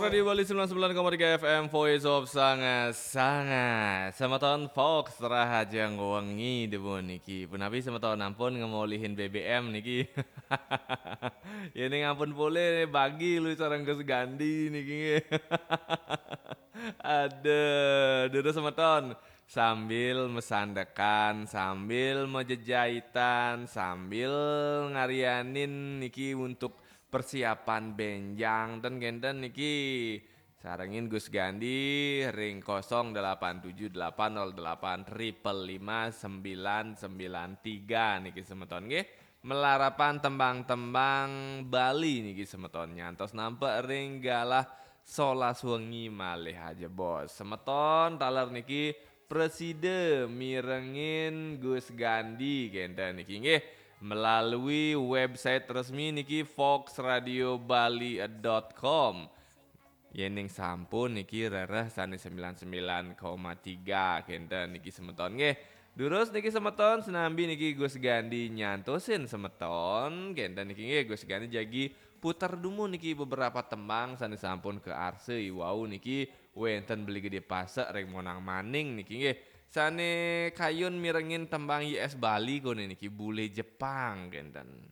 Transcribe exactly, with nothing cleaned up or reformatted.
Radio Bali sembilan sembilan koma tiga F M, Voice of Sanga-Sanga. Semeton Fox, rahajeng wengi demen niki. Punapi semeton, ampun ngemolihin B B M niki? Yening ampun polih, bagi lu sareng Gus Gandi niki nggih. Aduh, durus semeton. Sambil mesandekan, sambil mejejaitan, sambil ngarianin niki untuk persiapan benjang ten kenten niki. Sarengin Gus Gandi ring kosong delapan tujuh delapan nol delapan triple lima sembilan sembilan tiga niki semeton nggih. Melarapan tembang-tembang Bali niki semeton, nyantos nampek ring galah solas wengi malih aja, Bos. Semeton taler niki presida mirengin Gus Gandi kenten niki nggih, melalui website resmi niki fox radio bali dot com. Yening sampun niki rereh sane sembilan sembilan koma tiga kenten niki semeton nggih. Durus niki semeton, sinambi niki Gus Gandi nyantosin semeton kenten niki nggih, Gus Gandi jagi puter dumun niki beberapa tembang sane sampun kaarsa iwau niki wenten Beli Gede Pasek ring Monang Maning niki nggih. Sane kayun mirengin tembang Y S Bali kone niki, Bule Jepang kenten.